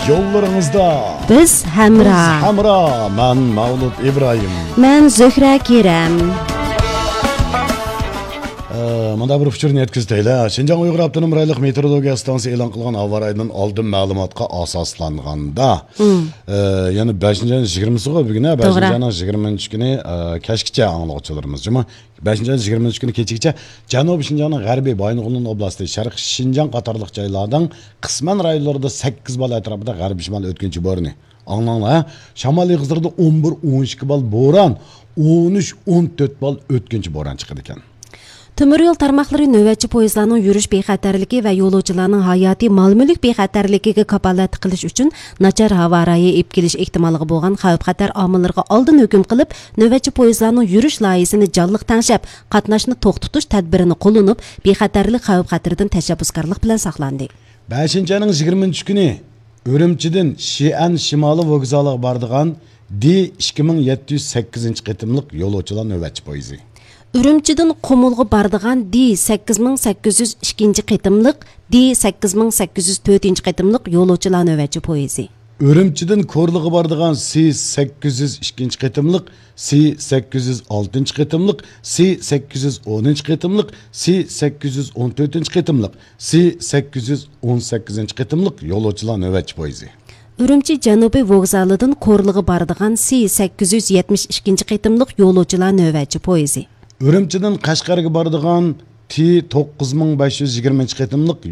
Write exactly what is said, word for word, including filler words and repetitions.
يوللىرىڭىزدا بىز ھەمراھ. بىز ھەمراھ. مەن مەۋلۇت ئىبراھىم. مەن زۆھرە كېرەم. ئە، مۇنداق بىر ئۇچۇرنى يەتكۈزۈپ ئۆتەيلى. شىنجاڭ ئۇيغۇر ئاپتونوم رايونلۇق مېتېئورولوگىيە ئىستانسىسى ئېلان قىلغان ھاۋا رايىدىن ئالدىن مەلۇماتقا ئاساسلانغاندا، ئە، يەنى بەشىنچى ئاينىڭ يىگىرمىسىغۇ بۈگۈن، ھە؟ توغرا. بەشىنچى ئاينىڭ يىگىرمە ئۈچ كۈنى، ئە، كەچكىچە ئاڭلىغۇچىلىرىمىز جۇمۇ. بەشىنچى ئاينىڭ يىگىرمە ئۈچ كۈنى كېچىگىچە جەنۇبىي شىنجاڭنىڭ غەربىي بايىنغولىن ئوبلاستى، شەرقىي شىنجاڭ قاتارلىق جايلارنىڭ قىسمەن رايونلىرىدا سەككىز بال ئەتراپىدا غەربىي شىمال ئۆتكۈنچى بورىنى. ئاڭلاڭلار، ھە؟ شامال ئېغىزلىرىدا ئون بىر، ئون ئىككى بال بوران، ئون ئۈچ، ئون تۆت بال ئۆتكۈنچى بوران چىقىدىكەن. تۆمۈر يول تارماقلىرى نۆۋەتچى پويىزلارنىڭ يۈرۈش بىخەتەرلىكى ۋە يولۇچىلارنىڭ ھاياتىي، مال-مۈلۈك بىخەتەرلىكىگە كاپالەتلىك قىلىش ئۈچۈن ناچار ھاۋا رايى ئېلىپ كېلىش ئېھتىمالىغا بولغان خەۋپ-خەتەر ئامىللىرىغا ئالدىن ھۆكۈم قىلىپ، نۆۋەتچى پويىزلارنىڭ يۈرۈش لايىھىسىنى جانلىق تەڭشەپ، قاتناشنى توختىتىش تەدبىرىنى قوللىنىپ، بىخەتەرلىك خەۋپ-خەتىرىدىن تەشەببۇسكارلىق بىلەن ساقلاندى. بەشىنچى ئاينىڭ يىگىرمە ئۈچ كۈنى ئۈرۈمچىدىن شىئەن شىمالىي ۋوگزالىغا بارىدىغان دى ئىككى مىڭ يەتتە يۈز سەككىزىنچى قېتىملىق يولۇچىلار نۆۋەتچى پويىزى. ئۈرۈمچىدىن قۇمۇلغا بارىدىغان دى سەككىز مىڭ سەككىز يۈز ئىككىنچى قېتىملىق، دى سەككىز مىڭ سەككىز يۈز تۆتىنچى قېتىملىق يولۇچىلار نۆۋەتچى پويىزى. ئۈرۈمچىدىن كورلىغا بارىدىغان سى سەككىز يۈز ئىككىنچى قېتىملىق، سى سەككىز يۈز ئالتىنچى قېتىملىق، سى سەككىز يۈز ئونىنچى قېتىملىق، سى سەككىز يۈز ئون تۆتىنچى قېتىملىق، سى سەككىز يۈز ئون سەككىزىنچى قېتىملىق يولۇچىلار نۆۋەتچى پويىزى. ئۈرۈمچى جەنۇبىي ۋوگزالىدىن كورلىغا بارىدىغان سى سەككىز يۈز يەتمىش ئىككىنچى قېتىملىق يولۇچىلار نۆۋەتچى پويىزى. ئۈرۈمچىدىن قەشقەرگە بارىدىغان تى توققۇز مىڭ بەش يۈز يىگىرمىنچى قېتىملىق